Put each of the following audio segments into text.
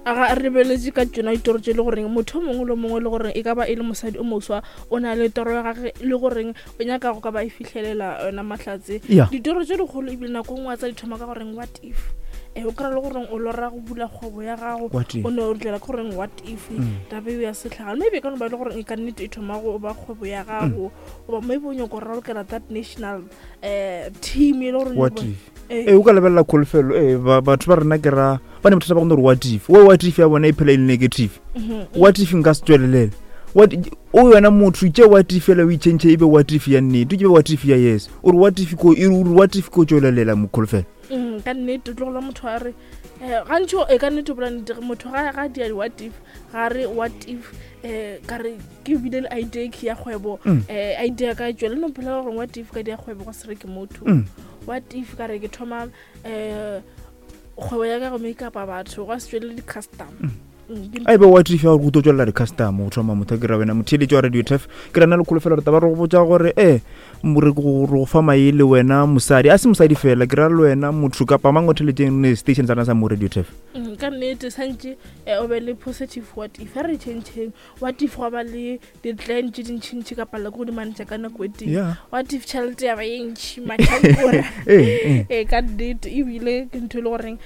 Ga re lebeletše ka tšona ditoro tše le goreng motho o mongwe le mongwe le goreng e ka ba e le mosadi o moswa o na le toro ya gage le goreng o nyaka go ka ba e fihlelela yona mahlatse. Ditoro tše dikgolo ebile nako nngwe tsa di thoma ka goreng what if. O kry-a le goreng o lora go bula kgwebo ya gago, o ne o tlela ke goreng what if taba eo ya setlhaga. Maybe e ka no ba e le goreng e ka nnete e thoma go ba kgwebo ya gago, goba maybe o nyako ralokela that national team e le gore what if. Ee, o ka lebelela kholofelo. Ee, batho ba rena ke ra ba ne bothata ba gone gore what if, o what if ya bona e phela e le negative. What if nka se tswelelele? What o yona motho tše what if fela o itšhentšhe e be what if ya nnete, ke be what if ya yes. O re what if ko, e re what if ko tswelelela mokholofelo. Ka nnete o tlogola motho a re gantši e ka nnete o bola nnete, motho ga dia di what if, ga re what if ka re ke bile le idea ke ya kgwebo, idea ka tswele no phela gore what if ka dia kgwebo go se reke motho. What if ka re ke thoma kgwebo ya ka go make up batho go se tswele di custom. A ebe what if ya gore go tlo tswelela di-customer go thoma motho a kry-a wena motheeletši wa Radio Turf. Ke rena le kholofelo re taba re go botša gore re go fa maele wena mosadi, a se mosadi fela, ke ra le wena motho kapa mang o theletšeng station sa rena sa mo Radio Turf. Ka nnete santše o be le positive what if. A re changeng what if, gwa ba le di-plan tše dintšhintšhi ka palela ke go di manetša ka nako e tee. What if tšhelete ya ba ye ntšhi matlhakore? Ee, ka nnete ebile ke ntho e le goreng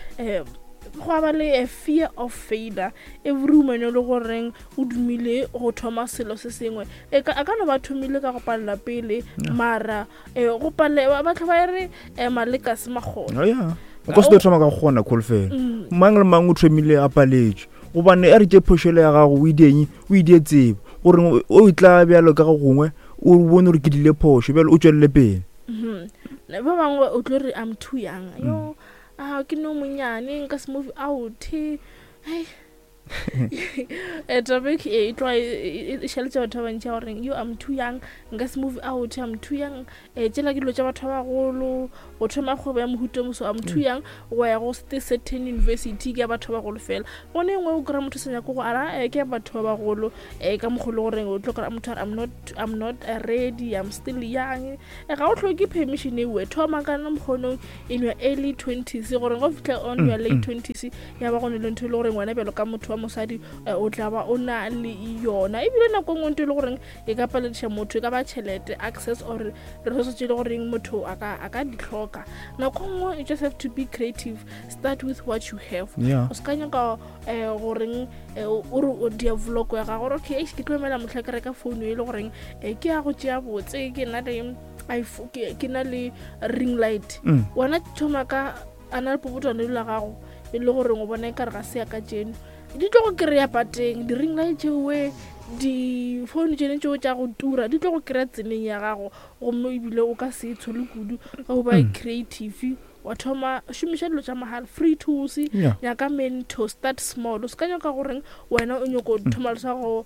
go ba le a fear of failure. Every woman e le goreng o dumile go thoma selo se sengwe, a ka no ba thomile ka go palela pele, mara go palela batho ba re maleka se magona. O ka se tlo thoma ka go kgona kholofelo. Mang le mang o thomile a paletswe, gobane a re tše phošelo ya gago o ideng o idie tsebo gore o tla bjalo ka go gongwe o bone gore ke dile phošo, bjalo o tswelele pele. Ba bangwe o tlo re I'm too young, yo a ke no monyane nka se move out. Hei, topic e tloga e šaletše batho ba bantši ya goreng yo I'm too young nka se move out, I'm too young. Tšela ke dilo tša batho ba bagolo, go thoma kgwebo ya mohuta moso, I'm too young go ya go certain university, ke ya batho ba bagolo fela. Gone engwe o kry-a motho sa nyako go ara ke ya batho ba bagolo, ka mokgwa le goreng o tlo kry-a motho a re I'm not ready, I'm still young. Ga o hloke permission ewe, thoma ka mokgonong in your early 20s, gore go fitlha on your late 20s ya ba go ne le ntho e le goreng wena bjalo ka motho wa mosadi o tla ba o na le yona. Ebile nako nngwe ntho e le goreng e ka palediša motho e ka ba tšhelete, access or resources tše e le goreng motho a ka di hloka. Nako nngwe you just have to be creative, start with what you have. O se ka nyaka goreng o re o dia vlog ya gago gore okay ke tlo emela mohla ke reka phone e le goreng ke ya go tšea botse, ke na le iPhone, ke na le ring light. Wena thoma ka a na le popotwane la gago e le goreng o bona e kare ga se ya ka tšeno, di tlo go kry-a pateng di-ring light tšeoe, di-phone tšene tšeo tša go tura di tlo go kry-a tseleng ya gago, gomme ebile o ka se e tshole kudu ge o ba creative. Wa thoma šomiša dilo tša mahala, free tools, nyaka mentor, start small. O se ka nyaka goreng wena o nyako thoma le sa go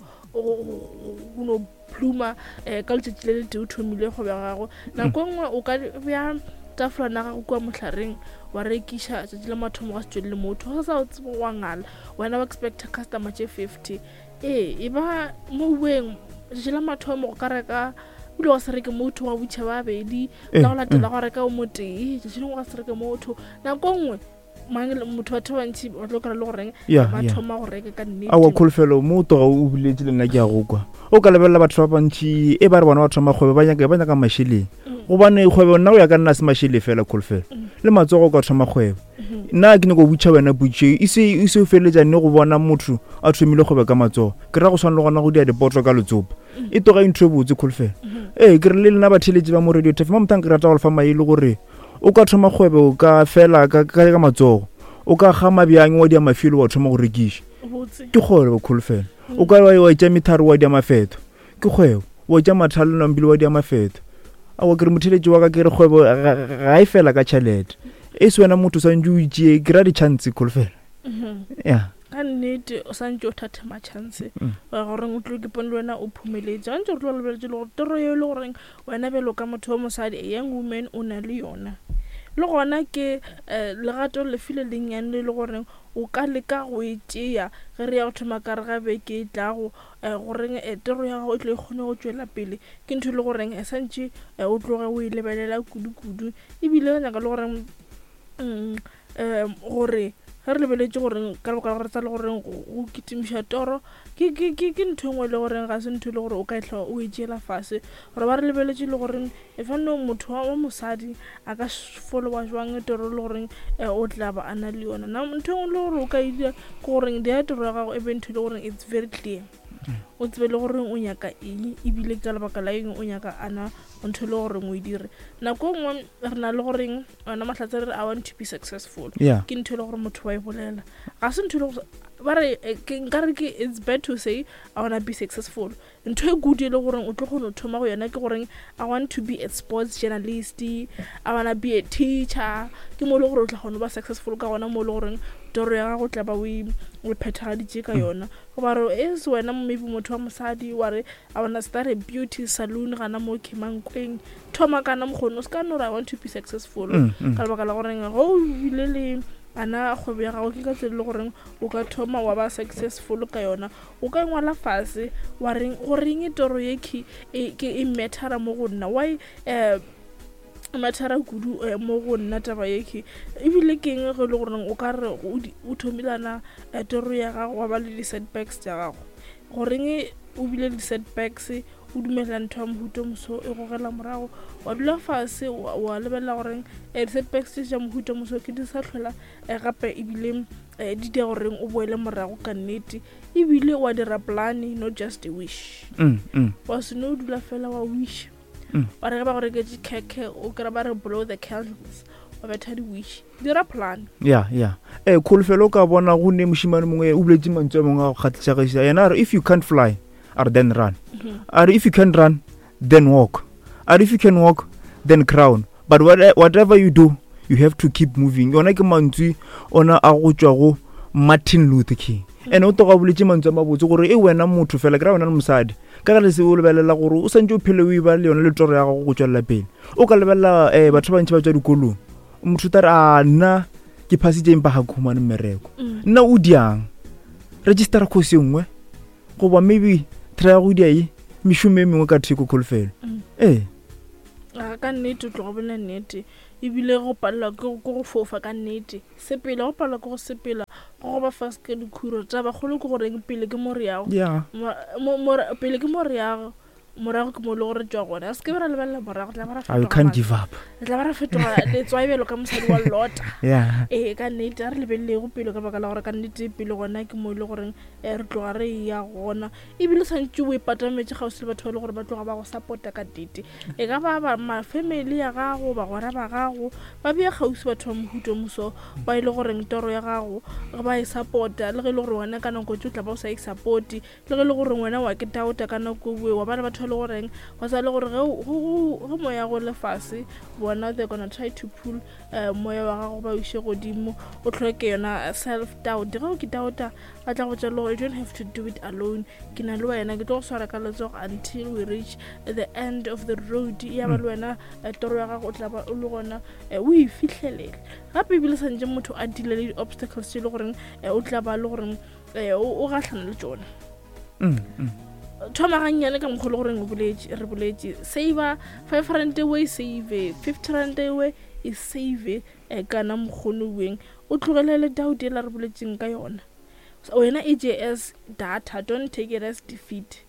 no pluma ka letšatši le letee o thomile kgwebo ya gago. Nako nngwe o ka bea tafolana ya gago kua mohlareng wa rekiša tšatši la mathomo ga se tšwelele motho, ga sa o tsebe wa ngala, wena wa expecta customer tše 50. Ee, e ba mo bueng tšatši la mathomo go ka reka ebile wa se reke motho, wa butšha ba bedi, la go latela go reka o motee, tšatši lengwe ga se reke motho. Nako nngwe mang motho batho ba bantši ba tlo kry-a le goreng ba thoma go reka ka nnete. Aowa kholofelo mo o toga o buletse le nna ke a go kwa. O ka lebelela batho ba bantši e ba re bona ba thoma kgwebo ba nyaka ba nyaka mašeleng, gobane kgwebo nna go ya ka nna se mašele fela kholofelo, le matsogo o ka thoma kgwebo. Nna ke nyako botša wena potšo e se e se o feleletša nne go bona motho a thomile kgwebo ka matsogo, ke ra go swana le gona go dia dipoto ka letsopa, e toga e ntho e botse kholofelo. Ee, ke re le lena batheeletši ba mo Radio Turf mo mothang ke rata go le fa maele gore o ka thoma kgwebo ka fela ka ka matsogo, o ka gama bjang wa dia mafelo wa thoma go rekiša, ke kgwebo kholofelo. O ka wa tša metharo wa dia mafeto, ke kgwebo, wa tša mathalo nampile wa dia mafeto. Aowa ke re motheeletši wa ka, ke re kgwebo ga e fela ka tšhelete, e se wena motho o swantše o itšee, ke ra di-chance kholofelo. Ya. Ka nnete o santše o thathema chance goreng o tlo ke pone le wena o phumeletše. Gantši re tlo lebeletše le gore toro eo e le goreng wena bjalo ka motho wa mosadi, a young woman, o na le yona, le gona ke legato lefe le lennyane le le goreng o ka leka go e tšea ge re ya go thoma ka re ga beke e tlago, goreng toro ya gago e tlo e kgone go tšwela pele. Ke ntho e le goreng e santše o tloge o e lebelela kudu-kudu, ebile re nyaka le goreng gore Ge re lebeletše goreng ka lebaka la gore tsa le goreng go kitimiša toro ke ke ke ke ntho e nngwe e le goreng ga se ntho e le gore o ka e tlhoa o e tšeela fase. Gore ba re lebeletše le goreng e fa no motho wa mosadi a ka followa jwang toro e le goreng o tla ba a na le yona. Na ntho e nngwe le gore o ka e dira ke goreng dira toro ya gago e be ntho e le goreng it's very clear. O tsebe le gore o nyaka eng ebile ka lebaka la eng o nyaka ana ntho e le goreng o e dire. Nako e nngwe re na le goreng ona mahlatse re re I want to be successful. Ke ntho e le gore motho wa e bolela. Ga se ntho e le gore ba re nka re ke it's bad to say I wanna be successful. Ntho e good e le goreng o tlo kgona go thoma go yona ke goreng I want to be a sports journalist, I wanna be a teacher. Ke mo e le gore o tla kgona go ba successful ka gona mo e le goreng toro ya gago tla ba o e phethagaditše ka yona. Goba re is wena maybe motho wa mosadi wa re I wanna start a beauty saloon gana mo Kemankweng. Thoma kana mokgone o se ka no re I want to be successful. Ka lebaka la goreng ge o bile le ana kgwebo ya gago ke ka tsela e le goreng o ka thoma wa ba successful ka yona. O ka ngwala fase wa reng goreng toro ye ke e mattera mo go nna, why mattera kudu mo go nna taba ye ke ebile ke eng ge e le goreng o ka re o thomilana toro ya gago wa ba le di-setbacks tša gago. Goreng o bile le di-setbacks o dumela ntho ya mohuta moso e gogela morago, wa dula fase wa lebelela goreng di-setbacks tše tša mohuta moso ke di sa tlhola gape ebile di dira goreng o boele morago ka nnete. Ebile wa dira plan, not just a wish. Wa se no dula fela wa wish. Wa re ge ba go reketše khekhe o kry-a ba re blow the candles, wa betha di-wish. Dira plan. Ya, ya. Kholofelo o ka bona go ne mošemane mongwe o boletse mantswe a mangwe a go kgatlhišagiša. Yena a re if you can't fly, a re then run. A re if you can't run, then walk. A re if you can walk, then crown. But whatever you do, you have to keep moving. Yona ke mantswe ona a go tšwa go Martin Luther King. Ene o toga boletse mantswe a mabotse gore e wena motho fela ke ra wena le mosadi ka ga lese o lebelela gore o santse o phele o e ba le yone le toro ya gago go tswelela pele. O ka lebelela batho ba bantši ba tswa dikolong, motho ta re a nna ke phasitse empa ga ke humane mmereko. Nna o diang registera course e nngwe goba maybe try go dia e mešomo e mengwe ka theko kholofelo. Ee. Ka nnete o tloga bona nnete ebile go palelwa ke go fofa ka nnete. Sepela, go palelwa ke go sepela, go go ba fase ka dikhuro. Taba kgolo ke goreng pele ke mo re yago. Pele ke mo re yago, morago ke mo le gore tšwa gona. Se ke be ra lebelela morago, tla ba ra fetoga. Can't give up. Tla ba ra fetoga letswai bjalo ka mosadi wa Lota. Ee, ka nnete a re lebelelego pele ka baka la gore ka nnete pele gona ke mo e le goreng re tloga re ya gona. Ebile santše o ipatametše kgauswi le batho ba e le gore ba tloga ba go support-a ka nnete. E ka ba ba ma-family ya gago, bagwera ba gago, ba bea kgauswi batho ba mohuta moso ba e le goreng toro ya gago ba e support-a, le ge e le gore wena ka nako tše o tla ba o sa e support-e, le ge e le gore wena wa ke doubta ka nako e wa ba le batho ba e le goreng ba sa le gore ge moya go le fase bona they're gonna try to pull moya wa gago ba o iše godimo, o tlhoke yona self doubt. Ge o ke doubta ba tla go botša le gore you don't have to do it alone, ke na le wena, ke tlo go swara ka letsogo until we reach the end of the road. Ya ba le wena toro ya gago o tla ba o le gona o e fihlelele. Gape ebile santše motho a deale le di-obstacles tše e le goreng o tla ba le goreng o gahlana le tšona. Thoma gannyane ka mokgwa le goreng re boletše, save 5 rand e save, 50 rand e save kana mokgono weng o tlogelele doubt ela re boletseng ka yona. Wena e je as data, don't take it as defeat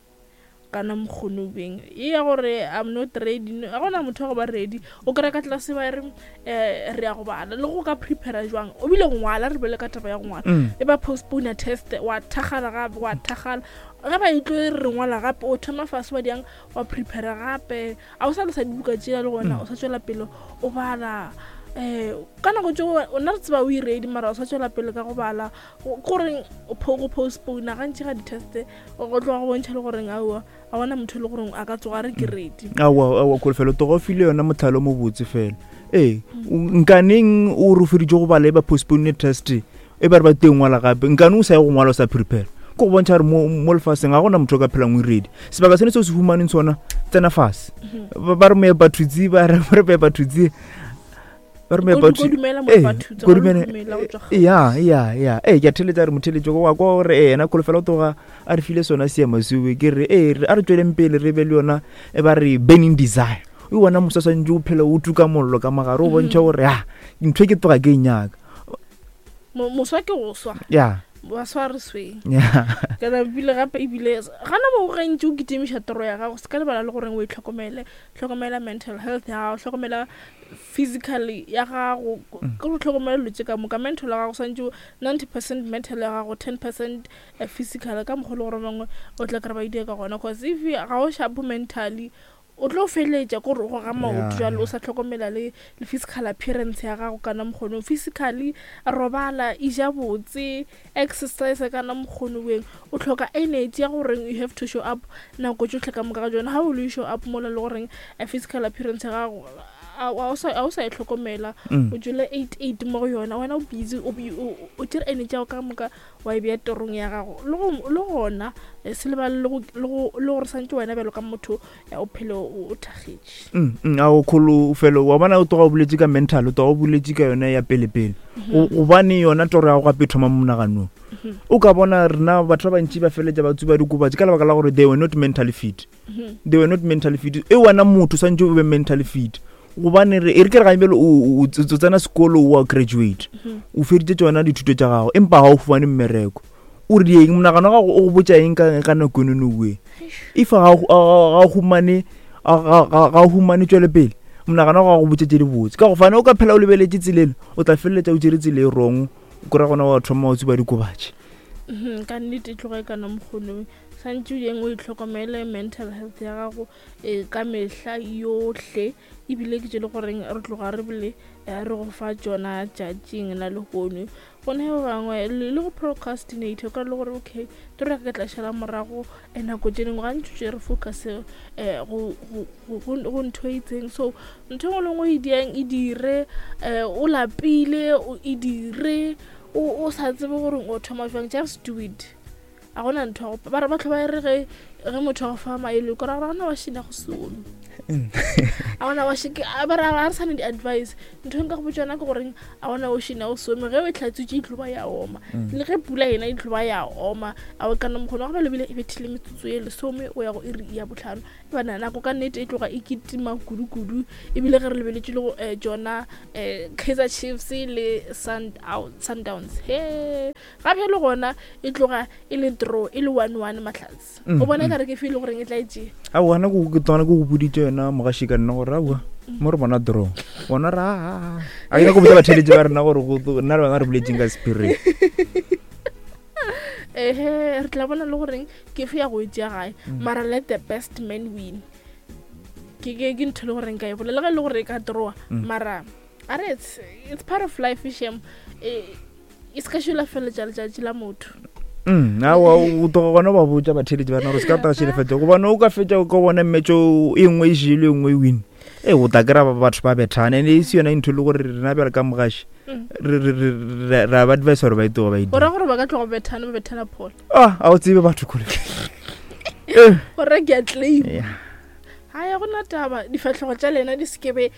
kana mokgono weng e ya gore I'm not ready. Ga gona motho wa go ba ready, o kry-a ka tlase ba re re ya go bala le go ka prepare jwang, o bile go ngwala, re bele ka taba ya go ngwala e ba postpone test, wa thagala gape, wa thagala ge ba e tlo re ngwala gape, o thoma fase wa diang wa prepare gape, a o sa le sa dibuka tšela le gona o sa tswela pele o bala. Ka nako tšeo o nna re tseba o e ready, mara o sa tswela pele ka go bala, goreng go postpone gantši ga di-test go tloga go bontšha le goreng aowa a bona motho e le goreng a ka tsoga re ke ready. Aowa, aowa, kholofelo toga o file yona motlhalo mo botse fela. Ee, nkaneng o re feditše go bala e ba postpone test e ba re ba teng ngwala gape, nkane o sa ye go ngwala o sa prepare, ke go bontšha gore mo lefaseng ga gona motho o ka phelang o ready. Sebaka sene se o se humaneng sona, tsena fase. Ba re moepa thutse, ba re moepa thutse, ba re moepa thutse. Ya, ya, ya. Ee, ke a theletša re motheletšo wa kwa gore ena kholofelo o tloga a re file sona seema seo. Ke re, ee, a re tsweleng pele re be le yona e ba re burning desire. O bona moswa swantse o phela o tuka mollo ka mogare, o bontšha gore ha ntho e ke tloga ke e nyaka. Moswa ke go swa. Ya. Ba swa re sweng. Ya. Kana bile gape ebile gana mo gantši o kitimiša toro ya gago se ka lebala le goreng o itlhokomele, hlokomela mental health ya gago, hlokomela physically ya gago, ke go hlokomela dilo tše ka moka. Mental ya gago swantše 90% mental ya gago, 10% physical ka mokgwa le gore bangwe o tla kry ba idea ka gona, cause if ga o sharp mentally o tlo feletša ko re o goga maoto jalo o sa tlhokomela le le physical appearance ya gago kana mokgonong. Physically robala, ija botse, exercise kana mokgono weng, o tlhoka energy ya goreng you have to show up nako tšohle ka moka ga jona. How will you show up mola le goreng physical appearance ya gago a o sa e tlhokomela, o jele 8 8 mo go yona, wena o busy o tšere energy ya gago ka moka wa e bea torong ya gago. Le gona se lebale le gore santse wena bjalo ka motho o phele o thakgetše. A o kholo felo wa bona o tloga o boletse ka mental, o tloga o boletse ka yona ya pele pele, gobane yona toro ya gago gape e thoma mo monaganong. O ka bona rena batho ba bantši ba feletša ba tsuba dikobatši ka lebaka la gore they were not mentally fit. They were not mentally fit. E wena motho swantše o be mentally fit, gobane re e re ke re gantši o tsena sekolo o a graduate, o feditše tšona dithuto tša gago, empa ga o fumane mmereko. O re eng monagano wa gago o go botša eng ka nako eno oe? If ga o humane, ga o humane tšwelopele, monagano wa gago go botša tše di botse, ka go fane o ka phela o lebeletše tseleng, o tla feleletša o tšere tsela e wrong, o kry-a gona wa thoma wa tsuba dikobatši. Ka nnete e tloga e kana mokgonong, santše o yeng o itlhokomele mental health ya gago ka mehla yohle, ebile ke tše le goreng re tloga re bile re go fa tšona tšatšing la lehono. Gone ba bangwe le go procrastinate, o ka le gore okay toro ya ka ke tla šala morago nako tše dingwe, gantši tše re focus go ntho e itseng. So ntho e nngwe le nngwe e diang e dire, o lapile o e dire, o sa tsebe gore o thoma jwang, just do it. A gona ntho ya go ba re batho ba re ge ge motho a go fa maele, o kry-a gore ga gona wa šina go some, a gona wa shike, ba re ga re sa ne di-advice. Ntho e nka go botsa yona ke goreng a gona o šina go some, ge o e hlatswitše e tlo ba ya oma, le ge pula yena e tlo ba ya oma. A o kana mokgona wa go ba lebile e bethile metsotso e lesome o ya go iri ya botlhano, e bana nako ka nnete e tloga e kitima kudu-kudu. Ebile ge re lebeletše le go tsona Kaizer Chiefs le Sundowns, he gape le gona e tloga e le draw, e le 1-1 mahlatse. O bona e ka re ke feel goreng e tla e tšea. Aowa, nna ke tsona ke go boditše yona mogaši ka nna gore aowa mo re bona draw, bona ra a ke nyako botsa batheletši ba rena gore nna le bana re boletseng ka spirit. Ehe, re tla bona le goreng ke fe ya go e tšea gae, mara let the best man win. Ke ntho le goreng ka e bolela, le ge e le gore e ka drawa, mara a re it's part of life, shem. E se ka šola feletša letšatši la motho. Aowa, o tloga gona ba botša batheletši ba rena gore se ka tla šelefetša, gobane o ka fetša o ka bona mmetšo e nngwe e jele e nngwe e win, e o tla kry-a batho ba bethana, and e se yona ntho e le gore rena bjale ka mogaši re a ba advise gore ba e tloga ba e O ra gore ba ka tloga bethana, ba bethana pholo? Ah, a o tsebe batho kgole. O ra ke a claim. Ga ya gona taba, difatlhego tša lena di sekebe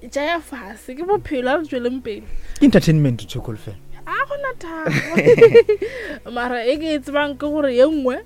tša ya fase, ke bophelo, a re tsweleng pele. Ke entertainment tshokolo fela. A gona taba. Mara e ke e tsebang ke gore ye nngwe